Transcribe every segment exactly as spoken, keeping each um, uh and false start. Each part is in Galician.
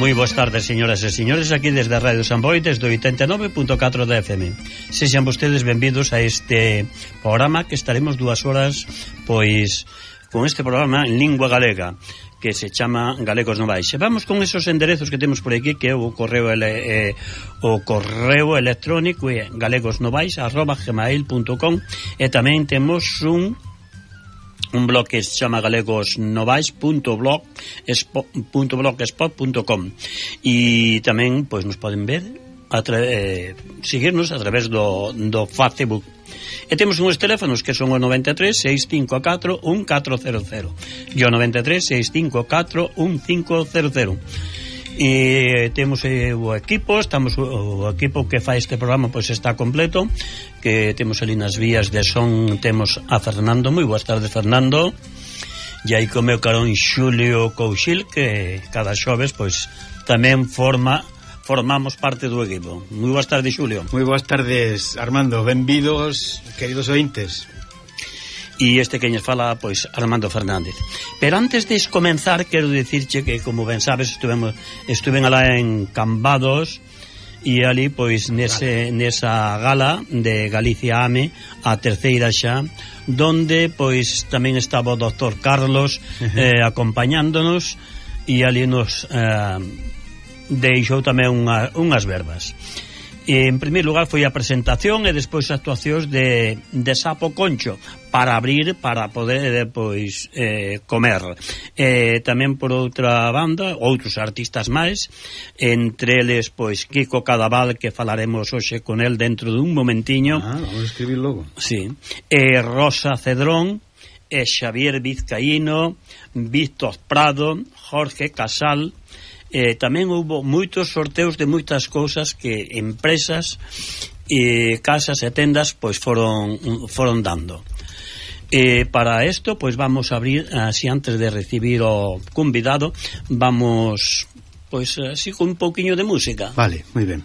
Moi boas tardes, señoras e señores, aquí desde a Radio San Boi, desde oitenta e nove punto catro da F M. Sexan vostedes benvidos a este programa que estaremos dúas horas, pois, con este programa en lingua galega, que se chama Galegos Novais. E vamos con esos enderezos que temos por aquí, que é o correo ele, eh, o correo electrónico é galegosnovais arroba gmail punto com, e tamén temos un un blog que se chama galegosnovais punto blogspot punto com, e tamén pois nos poden ver a eh, seguirnos a través do, do Facebook. E temos uns teléfonos que son o noventa e tres, seis cinco catro, un catro cero cero e o noventa e tres, seis cinco catro, un cinco cero cero. E temos eh, o equipo, estamos o equipo que fai este programa pois está completo, que temos ali nas vías de son, temos a Fernando. Moi boas tardes, Fernando. E aí co meu carón Xulio Couchil, que cada xoves pois tamén forma formamos parte do equipo. Moi boas tardes, Xulio. Moi boas tardes, Armando. Benvidos, queridos ointes. E este que nos fala, pois, Armando Fernández. Pero antes de comenzar, quero dicirche que, como ben sabes, estuvemos, estuven alá en Cambados, e ali, pois, nese, nesa gala de Galicia AME, a terceira xa, donde, pois, tamén estaba o doctor Carlos eh, acompañándonos, e ali nos eh, deixou tamén unha, unhas verbas. E, en primeiro lugar, foi a presentación e despois actuacións de, de Sapo Concho para abrir, para poder pois eh, comer. E tamén por outra banda outros artistas máis, entre eles pois Kiko Cadaval, que falaremos hoxe con el dentro dun momentiño. Ah, vamos a escribir logo. Sí. E Rosa Cedrón, e Xavier Vizcaíno, Víctor Prado, Jorge Casal. Eh, tamén houve moitos sorteos de moitas cousas que empresas e casas e tendas pois foron foron dando. Eh, para isto pois vamos a abrir, así antes de recibir o convidado, vamos pois así con un pouquiño de música. Vale, moi ben.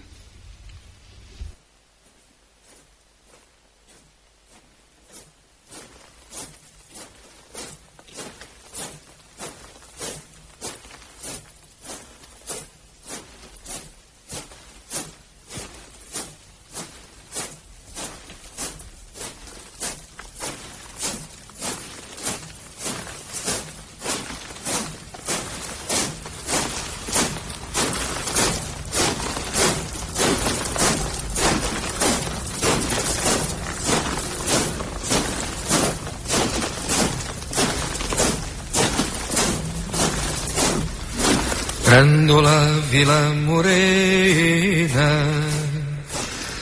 Grândola Vila Morena,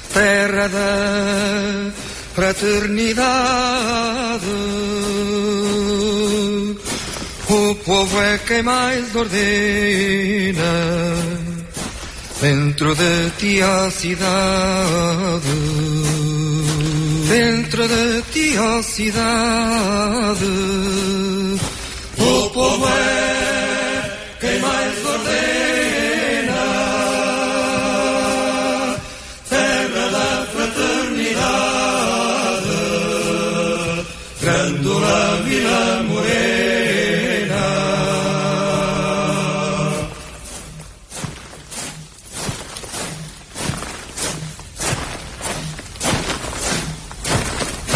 terra da fraternidade, o povo é quem mais ordena, dentro de ti a cidade, dentro de ti a cidade, o povo é quem mais ordena, terra da fraternidade, Grândola Vila Morena.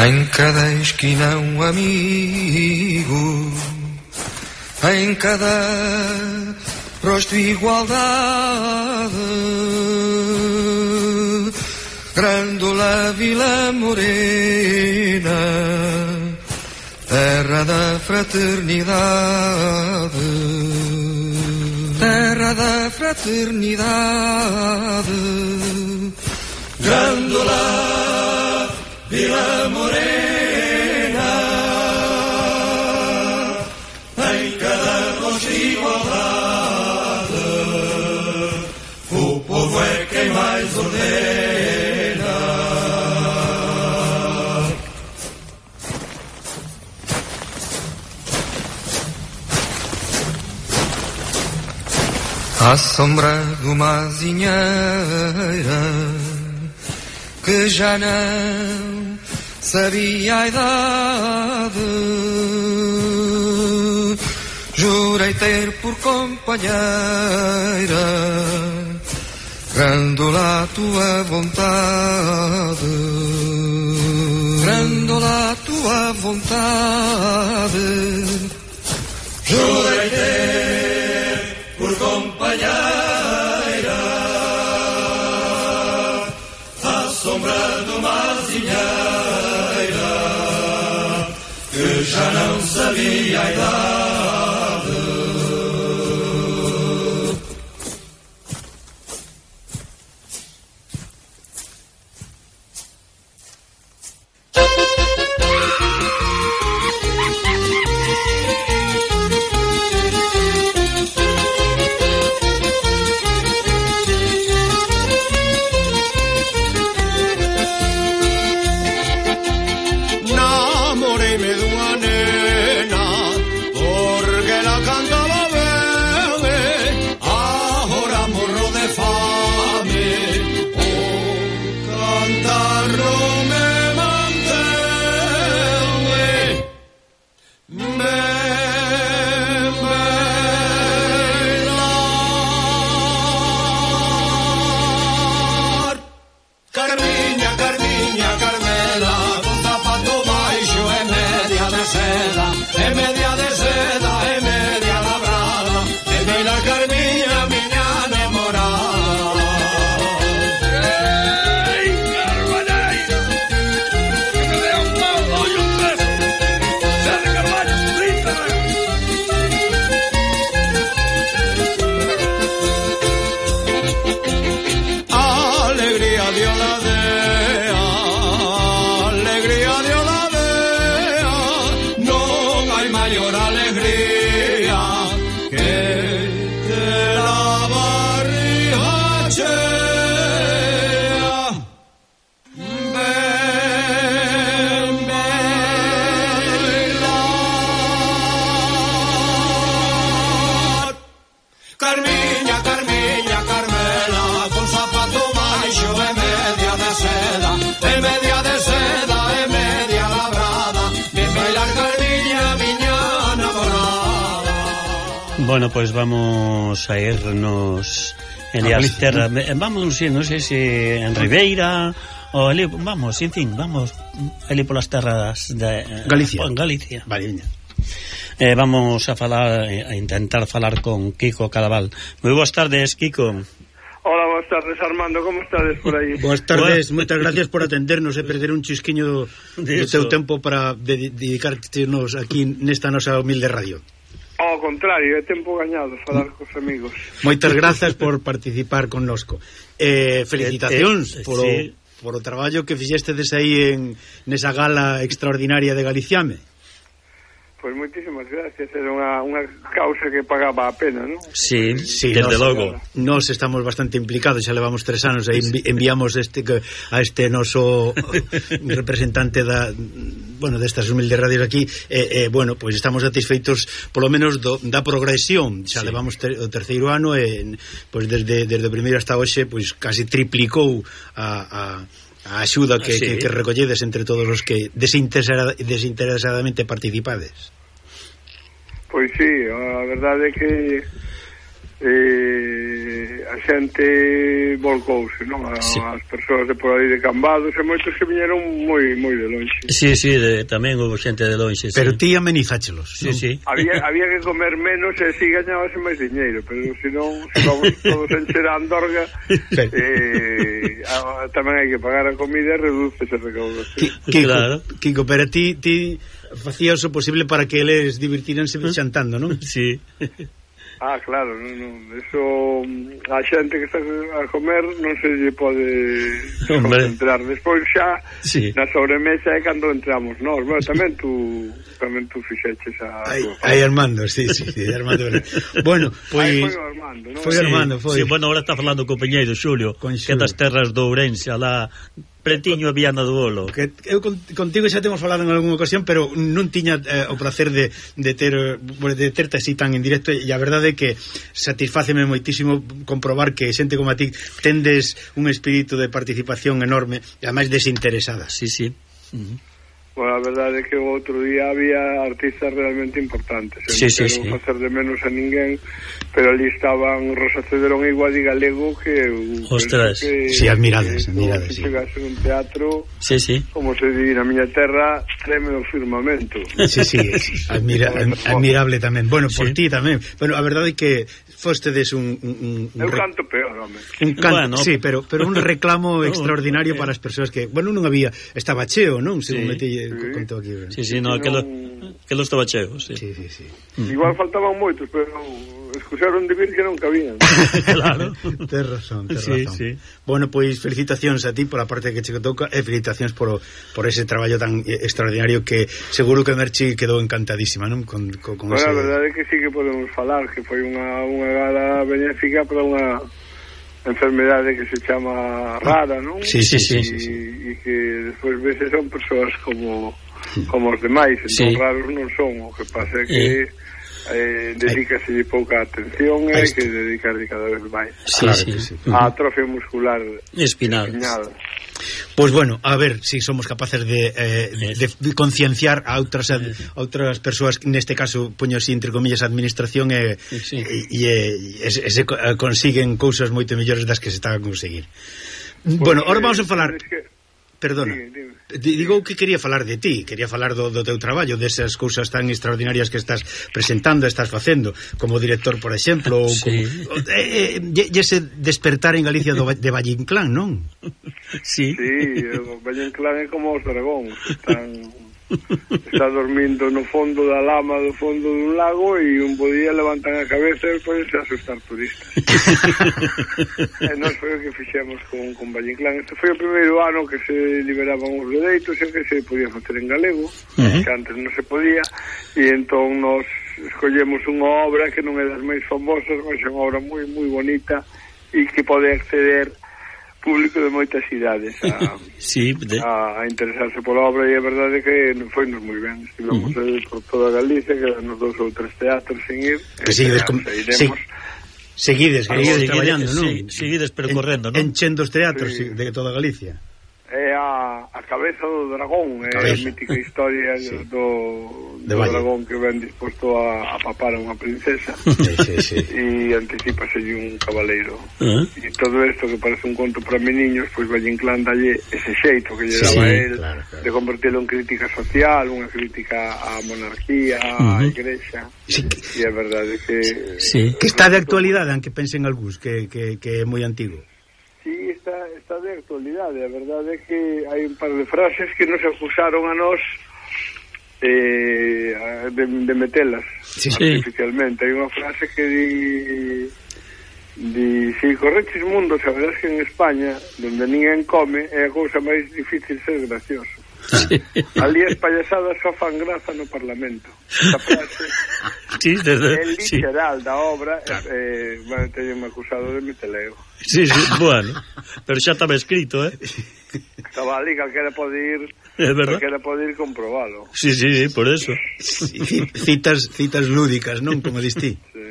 Em cada esquina um amigo, em cada rosto igualdade, Grândola Vila Morena, terra da fraternidade, terra da fraternidade, Grândola Vila Morena. O povo é quem mais ordena. À sombra de uma azinheira que já não sabia a idade, jurei vai ter por compañeira Grândola a tua vontade, grândola a tua vontade. Jurei ter por companheira a sombra de uma azinheira que já não sabia a idade. Bueno, pues vamos a irnos en las terras, vamos, no sé si en Ribeira o ali, vamos, en fin, vamos ali por las terras de Galicia. En Galicia. Vale, eh, vamos a falar, a intentar falar con Kiko Cadaval. Muy buenas tardes, Kiko. Hola, buenas tardes, Armando, como estades por aí? Boas tardes, moitas gracias por atendernos e perder un chisquiño do teu tempo para dedicarnos aquí nesta nosa humilde radio. Ao contrario, é tempo gañado falar cos amigos. Moitas grazas por participar connosco. Eh, felicitacións eh, eh, por, sí. o, por o traballo que fixestedes aí en nesa gala extraordinaria de Galiciame. Pois moitísimas gracias, era unha, unha causa que pagaba a pena, non? Sí, sí, desde nos, logo. Nós estamos bastante implicados, xa levamos tres anos e envi enviamos este a este noso representante da, bueno, destas humildes radios aquí, e eh, eh, bueno, pois pues estamos satisfeitos polo menos do, da progresión, xa sí. Levamos ter, o terceiro ano e pois pues desde desde o primeiro hasta hoxe, pois pues casi triplicou a a a axuda que, sí. que, que recolledes entre todos os que desinteresada, desinteresadamente participades. Pois sí, a verdade é que eh, a xente volcouse, non? A, sí. As persoas de por aí de Cambados e moitos que viñeron moi moi de longe. Sí, sí, de, tamén houve xente de longe, sí. Pero ti amenizáchelos. Sí, ¿no? Sí. Había, había que comer menos e si gañabase máis diñeiro, pero se non, se vamos todos encher a Andorga, eh, a, tamén hai que pagar a comida e reduce ese recaudo. Kiko, claro. Kiko, pero ti, ti facías o posible para que eles divirtíranse xantando, non? Sí. Ah, claro, non, non, eso a xente que está a comer non se lle pode concentrar. Despois xa sí. Na sobremesa é cando entramos nós. Bueno, tamén tú tamén tú fixeches a Aí, aí Armando, sí, sí, sí, Armando. Bueno, pois foi Armando, non? Foi Armando, foi. Sí, bueno, ahora está falando o compañeiro Xulio, que das terras do Ourense, alá Pretiño a Viana do Bolo. Que eu contigo xa temos falado en algunha ocasión, pero non tiña eh, o placer de, de ter de terte así tan en directo, e a verdade é que satisfáceme moitísimo comprobar que xente como a ti tendes un espírito de participación enorme e ademais desinteresada. Sí, sí. Uh -huh. Bueno, a verdade é que o outro día había artistas realmente importantes. Sí, sí, sí. Non facer de menos a ninguén, pero ali estaban Rosa Cederón e Guadi Galego, que... Ostras. Que, sí, admirades, admirades, sí. sí. Chegase un teatro, sí, sí. como se di na miña terra, treme o firmamento. Sí, sí, admira, admirable tamén. Bueno, por sí. ti tamén. Bueno, a verdade é que fostedes un... un, un Eu canto peor, home. Un canto, bueno, sí, pero, pero un reclamo no, extraordinario eh. para as persoas que... Bueno, non había... Estaba cheo, non? Según sí. metí, sí. contou aquí. Sí, sí, no, que lo, que lo estaba cheo, sí. Sí, sí, sí. Igual faltaban moitos, pero escusaron de vir que non cabían. Claro. Tes razón, tes sí, razón. Sí. Bueno, pois felicitacións a ti por a parte que che toca e felicitacións por, por ese traballo tan extraordinario que seguro que Merchi quedou encantadísima, non? Con, con, con bueno, ese... a verdade é que sí que podemos falar que foi unha, unha gala benéfica para unha enfermedade que se chama rara, non? Sí, sí, sí. E sí, sí. que despois veces son persoas como como os demais, entón sí. raros non son, o que pasa é que eh, dedícase pouca atención e que dedicarse cada vez máis sí, claro sí. sí. a atrofia muscular espinal. espinal. Pois pues bueno, a ver se si somos capaces de, eh, de, de concienciar a outras a outras persoas, neste caso poño así entre comillas administración e sí. e, e, e, e se consiguen cousas moito mellores das que se están a conseguir. Pues bueno, ahora vamos a falar que... Perdona, sí, digo que quería falar de ti, quería falar do, do teu traballo, desas cousas tan extraordinarias que estás presentando, estás facendo, como director, por exemplo, ou sí. como, eh, eh, e ese despertar en Galicia do, de Valle Inclán, non? Sí. Sí, o Valle Inclán é como os dragóns, están... está dormindo no fondo da lama do fondo dun lago e un bo día levantan a cabeza e podense asustar turistas. E nós foi o que fixemos con, con Valle Inclán. Este foi o primeiro ano que se liberaban os dereitos e que se podía facer en galego, uh-huh. que antes non se podía, e entón nos escollemos unha obra que non é das máis famosas, mas é unha obra moi moi bonita e que pode acceder público de moitas cidades a, sí, de... a, a interesarse pola obra, e a verdade é que foi nos moi ben. Estivemos uh-huh. por toda Galicia, quedanos dous ou tres teatros sin ir, que seguides, com... Se... seguides, seguides traballando, non? Sí, seguides percorrendo, en, non? Enchendo os teatros sí. de toda Galicia. É a, a cabeza do dragón, é a mítica historia sí. do, do dragón que ven disposto a, a papar a unha princesa sí, sí, sí. e anticipase un cabaleiro uh-huh. e todo isto que parece un conto para meniños, pois Valle Inclán dalle ese xeito que lle daba sí, él claro, claro. de convertirlo en crítica social, unha crítica á monarquía, uh-huh. á igrexa sí. e a verdade que sí. que está de actualidade, aunque pensen algúns que, que, que é moi antigo. Sí, está, está de actualidade. A verdade é que hai un par de frases que nos acusaron a nós eh, de, de metelas sí, artificialmente. Sí. Hai unha frase que di, di si correches mundo, saberás que en España, donde ninguén come, é a cousa máis difícil ser gracioso. Sí. Ali as payasadas só fan graza no Parlamento. Esta frase sí, desde, é literal sí. da obra. Claro. eh, bueno, teño acusado de meteleo. Sí, sí, bueno, pero xa estaba escrito, eh? Estaba ali, calquera pode ir, é verdad, calquera pode ir comprobalo. Sí, sí, por eso. Citas, citas lúdicas, non? Como distí. Sí.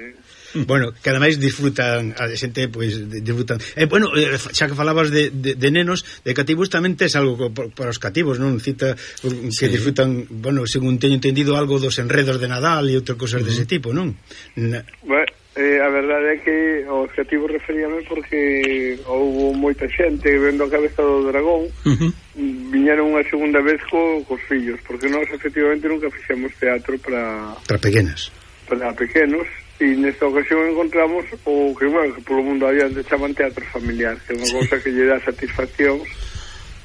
Bueno, que ademais disfrutan a xente, pois disfrutan. Eh, bueno, eh, xa que falabas de, de, de nenos, de cativos tamén tes algo para os cativos, non? Cita que sí. disfrutan, bueno, según teño entendido, algo dos enredos de Nadal e outras cosas uh-huh. dese tipo, non? Na... Bueno, eh, a verdade é que os cativos referíame porque houve moita xente vendo a cabeza do dragón, uh-huh. viñeron unha segunda vez co, cos fillos, porque nós efectivamente nunca fixemos teatro para para pequenas, para pequenos. E nesta ocasión encontramos o que, bueno, que polo mundo adiante chaman teatro familiar, que é unha cousa que lle dá satisfaccións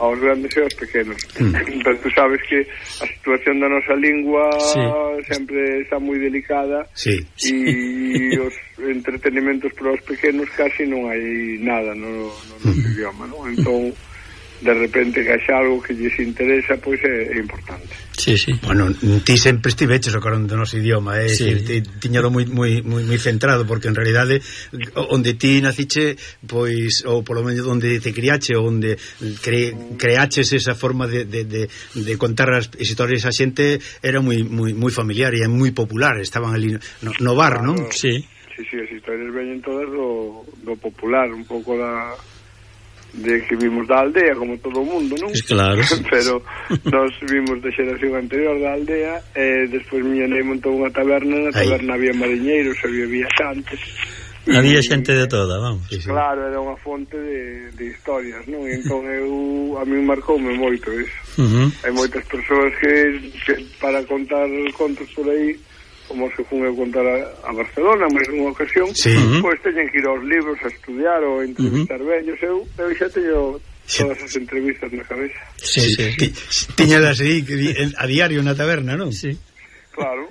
aos grandes e aos pequenos. Mm. Pero tú sabes que a situación da nosa lingua sí. sempre está moi delicada sí. e os entretenimentos para os pequenos casi non hai nada no, no noso mm. idioma, non? Entón, de repente que haxa algo que lles interesa, pois é, é importante. Sí, sí. Bueno, ti sempre estiveches o carón do noso idioma, é sí. dicir, tiñalo moi moi moi moi centrado, porque en realidade onde ti naciche, pois ou polo menos onde te criache, onde cre, creaches esa forma de, de, de, de contar as historias a xente, era moi moi moi familiar e moi popular, estaban ali no, no bar, claro, non? Sí. Sí, sí, as historias veñen todas do, do popular, un pouco da de que vimos da aldea, como todo o mundo, non? Claro. Pero nós vimos da xeración anterior da aldea, e despois miña nai montou unha taberna, na taberna había mariñeiros, había viaxantes. Había xente de toda, vamos. Claro, era unha fonte de, de historias, non? E entón eu, a mí marcoume moito iso. Uh-huh. Hai moitas persoas que, que para contar contos por aí, como se fun a contar a, a Barcelona, máis nunha ocasión, sí. Pois teñen que ir aos libros a estudiar ou a entrevistar uh-huh. vellos. Eu, eu xa teño todas as entrevistas na cabeza. Sí, sí. sí. Tiñalas aí a diario na taberna, non? Sí. Claro.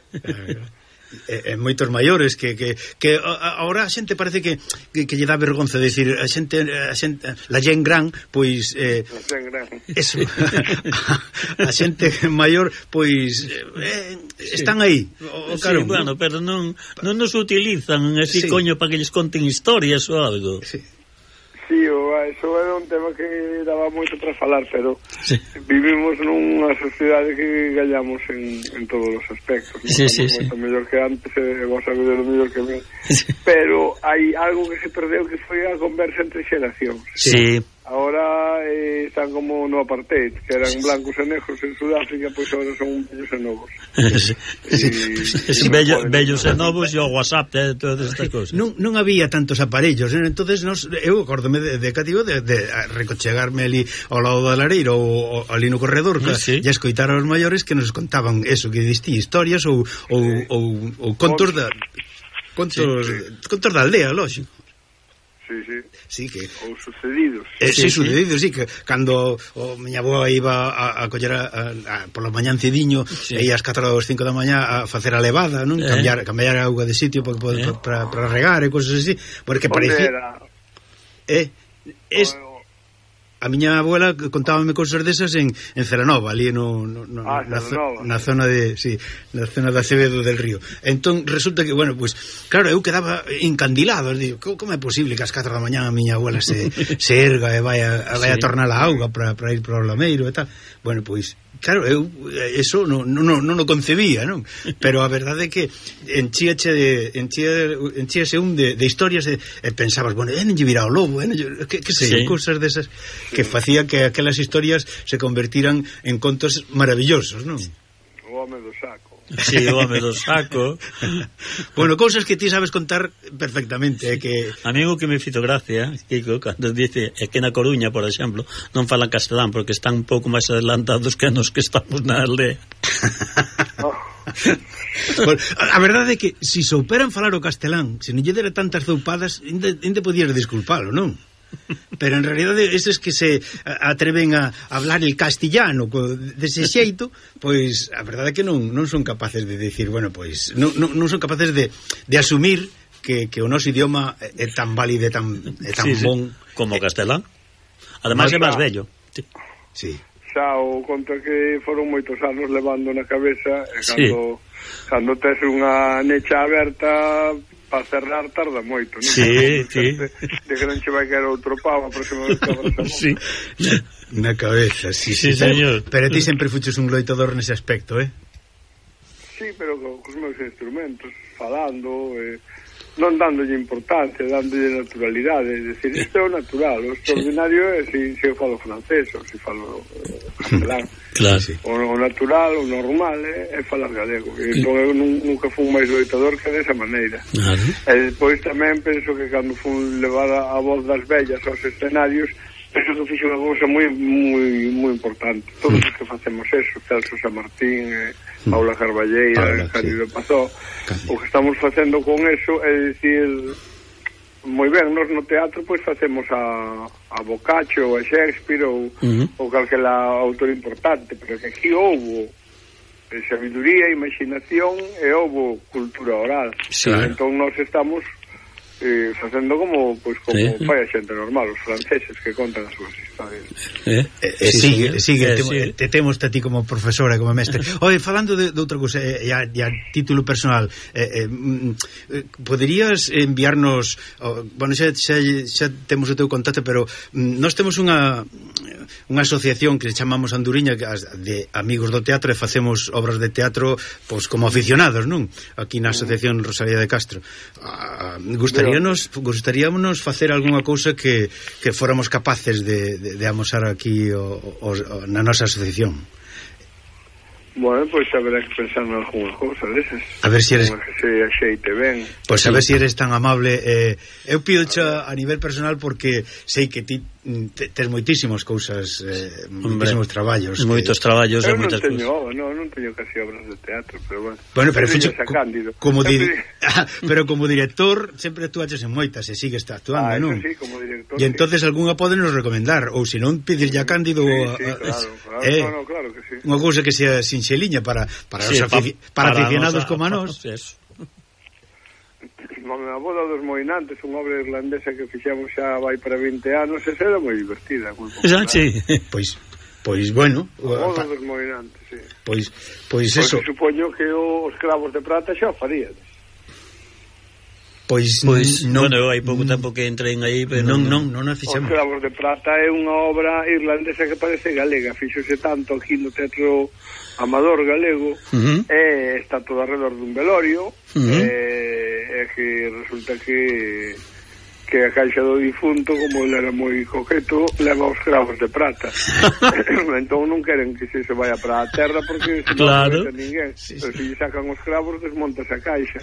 E, e moitos maiores que, que, que agora a xente parece que, que, que lle dá vergonza decir a xente, a xente la gen gran, pois eh, la gen gran. Eso a, a xente maior pois eh, están aí o, claro, sí, bueno, pero non, non nos utilizan así, sí. Coño, para que lles conten historias ou algo. Sí. Sí, o, eso era un tema que daba moito para falar, pero sí. Vivimos nunha sociedade que gallamos en, en todos os aspectos, non? Sí, sí, sí. Moito mellor que antes, e vos sabedes o mellor que mí, sí. Pero hai algo que se perdeu, que foi a conversa entre xeracións. Sí. Ahora eh, están como no apartheid, que eran blancos e negros en Sudáfrica, pois agora son vellos e novos. Sí, sí. Y, sí, bello, vellos e novos e o WhatsApp e todas estas cousas. Non, non había tantos aparellos, ¿eh? Entonces nos, eu acórdome de, de cativo de, de recochegarme ali ao lado da lareira ou ali no corredor, sí, sí. E escoitar aos maiores que nos contaban eso, que distí historias ou, ou, sí. ou, ou contos da contos, sí. contos da aldea, lógico. Sí, sí. Sí, que ou sucedidos. Eh, sí, sí, sucedidos, sí, que cando o miña avoa iba a, a coller a, a, a, por la mañán cediño, sí. E ás catro ou cinco da mañá a facer a levada, non? Eh. Cambiar cambiar a auga de sitio para eh. para para regar e cosas así, porque parecía eh es a miña abuela contábame cousas desas en, en Celanova, ali no, no, no, ah, na, Celanova. na zona de, sí, na zona de Acevedo del Río. Entón resulta que, bueno, pues claro, eu quedaba encandilado, digo, como é posible que ás catro da mañá a miña abuela se, se erga e vai a, vai a tornar a auga para, para ir para o lameiro e tal? Bueno, pois claro, eu eso non no, no, no, no concebía, non? Pero a verdade é que enchíache de enchía, enchíase un de, de historias e, e pensabas, bueno, eh, non lle virá o lobo, eh, que, que sei, sí. Cousas desas que facía que aquelas historias se convertiran en contos maravillosos, non? O home do saco. Sí, o home do saco. Bueno, cousas que ti sabes contar perfectamente, é que a mí o que me fito gracia, Kiko, cando dice é que na Coruña, por exemplo, non falan castelán porque están un pouco máis adelantados que nos que estamos na aldea. Oh. Bueno, a verdade é que se si souperan falar o castelán, se non lle dera tantas zoupadas, ainda podías disculpalo, non? Pero en realidade esos que se atreven a hablar el castellano dese xeito, pois a verdade é que non, non son capaces de decir, bueno, pois non, non, non son capaces de, de asumir que, que o noso idioma é tan válido e tan, é tan sí, bon sí. Como o castelán. Ademais é máis bello. Sí. Sí. Xa o conto que foron moitos anos levando na cabeza e cando, sí. Cando tes unha necha aberta para cerrar tarda moito, non? Sí, sí. De, de que non che vai caer outro pavo a próxima vez que abras. Sí. Na cabeza, sí, sí, sí, señor. Pero ti sempre fuches un loitador nese aspecto, eh? Sí, pero co, cos meus instrumentos, falando, eh, non dándolle importancia, dándolle naturalidade, é dicir, isto é o natural, o extraordinario é se, se eu falo francés ou se falo eh, castelán. Claro, sí. O, o natural, o normal é, é falar galego. E entón eu nunca fui máis loitador que desa maneira. Claro. E despois tamén penso que cando fun levar a, a voz das vellas aos escenarios, penso que fixo unha cousa moi moi moi importante. Todos os que facemos eso, Celso San Martín, eh, Paula Carballeira, Cándido Pazó, o que estamos facendo con eso é dicir, moi ben, nós no teatro pois facemos a, a Boccaccio ou a Shakespeare ou, uh-huh. ou calquera autor importante, pero que aquí houbo sabiduría, imaginación e houbo cultura oral. Sí. Entón nós estamos eh, facendo como pois como sí. Fai a xente normal, os franceses que contan as súas historias. Eh, eh, eh, sí, sigue, sigue, eh, te, sí. te temos a ti como profesora, como mestre. Oye, falando de, de outra cousa, e eh, a, a título personal, eh, eh, eh, poderías enviarnos, oh, bueno, xa, xa, xa temos o teu contacto, pero mm, nós temos unha unha asociación que chamamos Anduriña de amigos do teatro e facemos obras de teatro pois como aficionados, non? Aquí na Asociación Rosalía de Castro. Ah, gustaríanos gustaríamonos facer algunha cousa que, que fóramos capaces de, de, de amosar aquí o, o, o, na nosa asociación. Bueno, pois pues, haberá que pensar en alguna cousa desas. A ver si eres... Que se axeite ben. Pois pues, a ver si eres tan amable. Eh, eu pido a nivel personal porque sei que ti tes moitísimas cousas, eh, moitísimos traballos. Moitos que... traballos e moitas cousas. Eu cousas. non teño, non teño casi obras de teatro, pero bueno. Bueno, pero fixo, co, como di, pero como director sempre actuaches en moitas e sigues actuando, ah, non? Sí, como director. E entonces sí. Algunha podenos recomendar, ou se non pedirlle a Cándido sí, a, sí, claro, claro, eh, no, no, claro que sí. Unha cousa que sea sinxeliña para para sí, os afici para, para aficionados nosa, como a nós. Eso. A boda dos Moinantes, unha obra irlandesa que fixemos xa vai para vinte anos, e era moi divertida. Xa, sí. Pois, pois bueno, a boda dos Moinantes, sí. Pois, pois Porque eso. Supoño que os cravos de prata xa o farían. Pois, pois non, bueno, hai pouco tempo que entrei aí, pero non, non, non nos fixemos. Os cravos de prata é unha obra irlandesa que parece galega, fixose tanto aquí no Teatro Amador galego, uh -huh. e está todo alrededor dun velorio, uh -huh. e, e que resulta que que a caixa do difunto, como ele era moi coqueto, leva os cravos de prata. Entón non queren que se se vaya para a terra porque se claro. Non ninguén. Sí, pero sí. Se sacan os cravos, desmontas a caixa.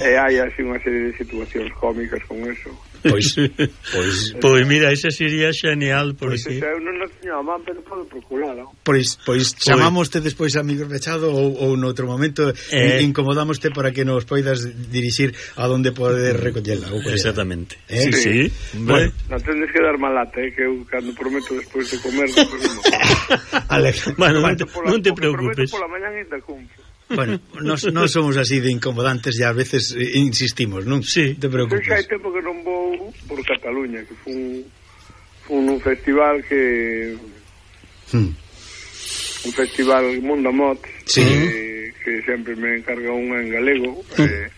E hai así unha serie de situacións cómicas con eso. Pois, pois, pois mira, ese sería genial por pois aquí. Eu non o teño a man, pero podo procurar, non? Pois, pois chamámoste despois amigos Mechado ou, ou noutro momento eh, incomodámoste para que nos poidas dirixir a donde poder recollela. Exactamente. Eh? Sí, sí. Bueno, non tendes que dar malata, eh, que eu cando prometo despois de comer, despois non. Bueno, non te, non te preocupes. Pola mañá ainda cumplo. Bueno, nos, non somos así de incomodantes e a veces insistimos, non? Sí. Te preocupes. Eu xa hai tempo que non vou por Cataluña, que foi un, foi un festival que... Hmm. Un festival Mundo Mot, sí. que, que sempre me encarga unha en galego, hmm. e,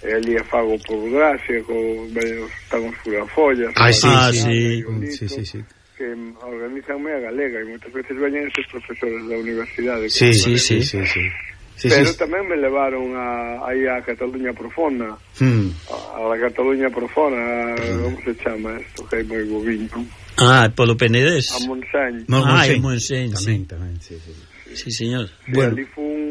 e ali a fago por gracia, con están os furafollas. Ah, sí, ah, sí. sí. sí, sí, sí. Que organizanme a galega, e moitas veces veñen estes profesores da universidade. Sí, sí, sí, sí, sí. Sí, pero sí. Tamén me levaron a, aí a Cataluña Profona, hmm. a, a la Cataluña Profona, hmm. como se chama isto, que hai moi boviño. Ah, polo Penedés. A Montseny. Ah, en Montseny, sí. Tamén, tamén, sí, sí. Sí, señor. Sí, bueno. Ali foi un,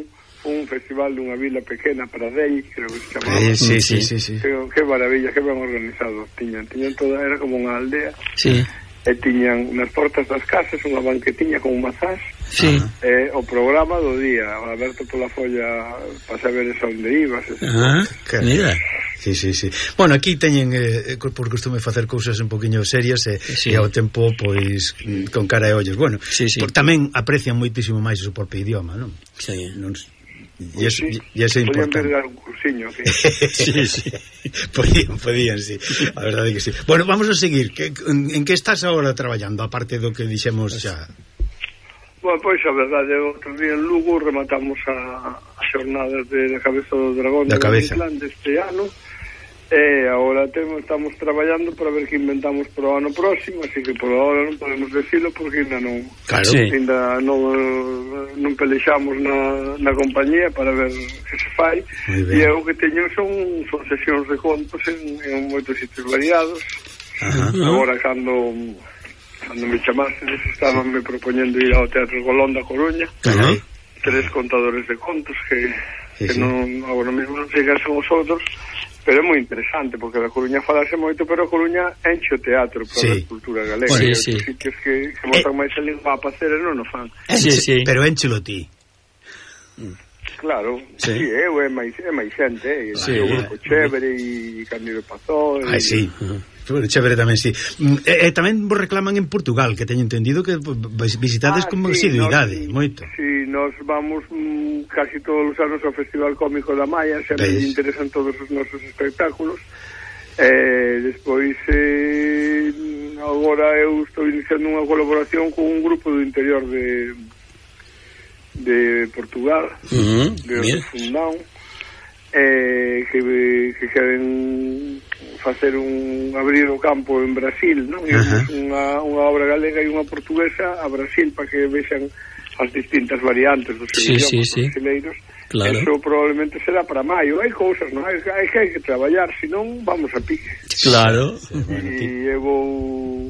un festival dunha vila pequena, Pradell, creo que se chamaba. Eh, sí, sí, sí, sí. Que, que maravilla, que ben organizado. Tiñan, tiñan toda, era como unha aldea. Sí. E tiñan nas portas das casas unha banquetiña con mazás. Sí. E o programa do día, aberto pola folla para saber esa onde ibas. Ah, mira. Sí, sí, sí. Bueno, aquí teñen eh, por costume facer cousas un poquinho serias e, sí. e ao tempo pois con cara e ollos. Bueno, sí, sí. Por, tamén aprecian moitísimo máis o seu propio idioma, non? Sí. Non, e eso, sí, e eso é importante. Podían ver un cursiño aquí. Sí, sí. Podían, podían, sí. A verdade que sí. Bueno, vamos a seguir. Que, en, en que estás agora traballando, aparte do que dixemos xa? Bueno, pois a verdade, outro día en Lugo rematamos a, a xornadas de, de Cabeza do Dragón da cabeza deste ano. E agora temos, estamos traballando para ver que inventamos para o ano próximo, así que por agora non podemos decirlo porque ainda non, claro. Sí. ainda non, non pelexamos na, na compañía para ver que se fai. E o que teño son, son sesións de contos en, en moitos sitios variados. Ajá. Agora cando cando me chamaste estaban me propoñendo ir ao Teatro Colón da Coruña. Ajá. Tres contadores de contos que, sí, que sí. non, agora mesmo non sei que son os outros. Pero é moi interesante, porque da Coruña falase moito, pero a Coruña enche o teatro para sí. a cultura galega. Sí, e sí. sitios que, que botan eh, máis a lingua a pacer e non o fan. Sí, sí. Pero énchelo ti. Claro, sí, sí eu é máis, é máis xente, e sí, o Grupo Chévere e Cándido Pazó. Ai, sí. Bueno, Chévere tamén, sí. E, e tamén vos reclaman en Portugal, que teño entendido que visitades ah, con sí, asiduidade, nos, moito. Sí, nos vamos mm, casi todos os anos ao Festival Cómico da Maia, sempre me interesan todos os nosos espectáculos. Eh, despois eh, agora eu estou iniciando unha colaboración con un grupo do interior de de Portugal, uh-huh, de Fundão, eh, que, que queren facer un abrir o campo en Brasil, non? Unha, unha obra galega e unha portuguesa a Brasil para que vexan as distintas variantes dos sí, idiomas sí, sí. brasileiros. Claro. Eso probablemente será para maio. Hai cousas, non? Hai, hai que hai que traballar, senón vamos a pique. Claro. E eu vou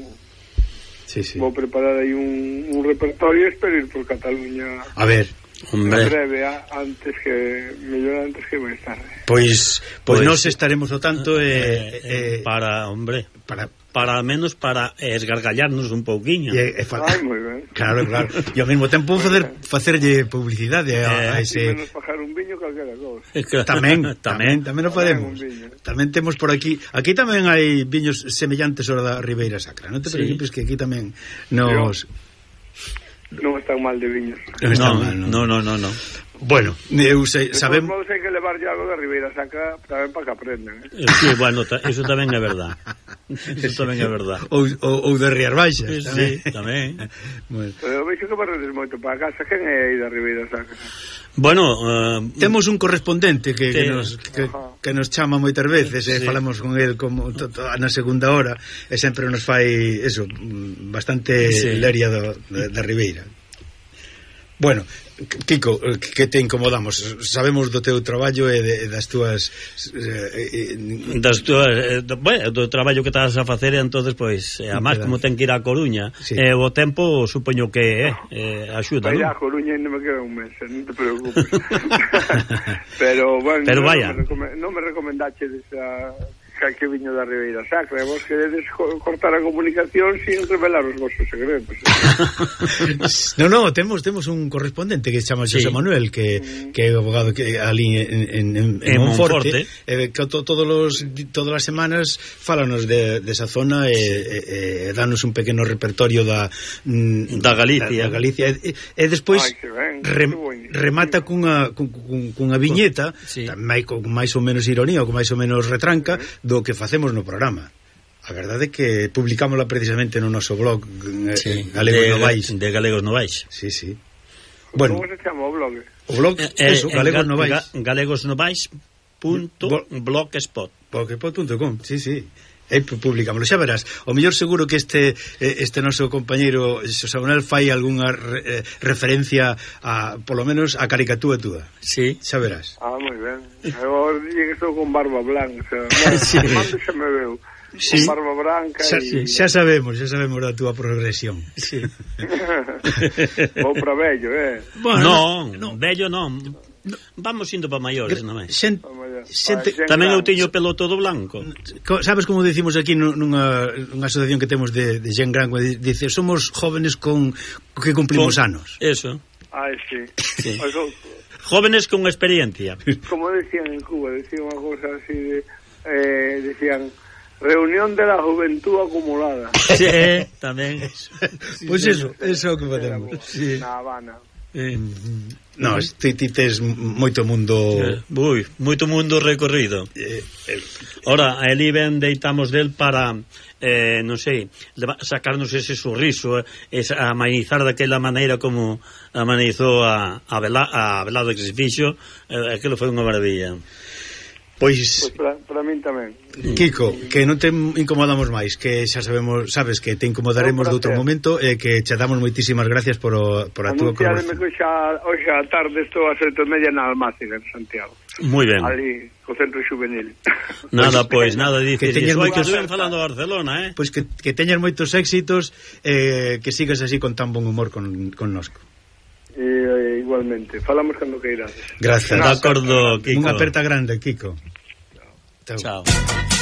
sí, sí. vou preparar aí un, un repertorio e espero ir por Cataluña. A ver, hombre, breve, antes que mellor antes que máis tarde. Pois, pois, pois nós estaremos o tanto eh, eh, eh, para, hombre, para para menos para esgargallarnos un pouquiño. E, e Ai, moi ben. Claro, claro. E ao mesmo tempo facer facerlle publicidade a, a ese e menos pajar un viño calquera cousa. Tamén, tamén, tamén o podemos. Tamén temos por aquí, aquí tamén hai viños semellantes ao da Ribeira Sacra. Non te preocupes sí. que aquí tamén nos non están mal de viños. Non están no, mal, non. No, no, no, no. Bueno, eu sei, sabemos... De todos modos hai que levar ya algo da Ribeira Sacra tamén para que aprendan, eh? Sí, bueno, ta, eso tamén é verdad. Eso tamén é verdad. Ou, ou, ou de Rías Baixas, sí, tamén. Sí, tamén. Bueno. Pero veixo que barredes moito para casa. Quen é aí da Ribeira Sacra? Bueno, uh, temos un correspondente que, que, nos, que, que nos chama moitas veces e sí. falamos con el como to, to, na segunda hora e sempre nos fai eso, bastante sí. leria do, da, da Ribeira. Bueno, Kiko, que te incomodamos? Sabemos do teu traballo e de, das túas eh, eh, das túas eh, do, bueno, do traballo que estás a facer, entonces pois, eh, además como ten que ir a Coruña, sí. eh, o tempo supoño que eh, eh, axuda, non? Vai a Coruña e non me queda un mes, non te preocupes. Pero, bueno, Pero no, vaya. non me, recome non me recomendache esa que viño da Ribeira Sacra, e vos queredes cortar a comunicación sin revelar os vosos segredos. No, no, temos temos un correspondente que se chama José sí. Manuel, que mm. que é abogado que ali en en en, en Monforte, eh, que to, todos los todas as semanas fálanos de de esa zona e eh, eh, danos un pequeno repertorio da da Galicia, da, da Galicia e, e despois Ay, re, remata cunha cun, cunha viñeta, sí. tamén con máis ou menos ironía ou con máis ou menos retranca do que facemos no programa. A verdade é que publicámosla precisamente no noso blog sí, Galegos de, Novais. De Galegos Novais. Sí, sí. Bueno, como se chama o blog? O blog, eh, eso, eh, Galegos Novais. Ga, galegosnovais punto blogspot punto com, sí, sí. E publicámoslo, xa verás. O mellor seguro que este este noso compañeiro Xosé Manuel fai algunha re, eh, referencia a, polo menos, a caricatura túa. Sí. Xa verás. Ah, moi ben. Eu dije que estou con barba blanca. Bueno, sí. Mando xa me veu. Sí. Con barba branca xa, y... xa sabemos, xa sabemos da túa progresión. Sí. Vou para vello, eh? Bueno, non, no. vello non. Vamos indo para maiores, non é? Xen, xente, tamén eu teño pelo todo blanco. Sabes como decimos aquí nunha, nunha asociación que temos de, de Gen Gran, dice, somos jóvenes con que cumplimos con, anos. Eso. Ai, sí. sí. Jóvenes con experiencia. Como decían en Cuba, decían unha cosa así de, eh, decían reunión de la juventud acumulada. Sí, tamén. Sí, pois pues eso, eso é o que facemos. Sí. Na Habana. Eh. No, ti, ti tes moito mundo eh, ui, moito mundo recorrido eh, eh, ora, ali ben deitamos del para eh, non sei, sacarnos ese sorriso, eh, amenizar daquela maneira como amenizou a, a, vela, a velada que se fixo, eh, aquilo foi unha maravilla. Pois, pois para, para min tamén. Kiko, que non te incomodamos máis, que xa sabemos, sabes que te incomodaremos de outro momento e que che damos moitísimas gracias por, o, por a túa colaboración. Anunciademe que xa, hoxe a tarde estou a sete e media na Almácega, en Santiago. Moi ben. Ali, co centro juvenil. Nada, pois, pues, nada, dices, que teñas moi que estuen falando de Barcelona, eh? Pois pues que, que teñas moitos éxitos, eh, que sigas así con tan bon humor con, con nosco. Eh, igualmente, falamos cando queiras. Gracias. De acordo, Kiko. Unha aperta grande, Kiko. Chao. Chao.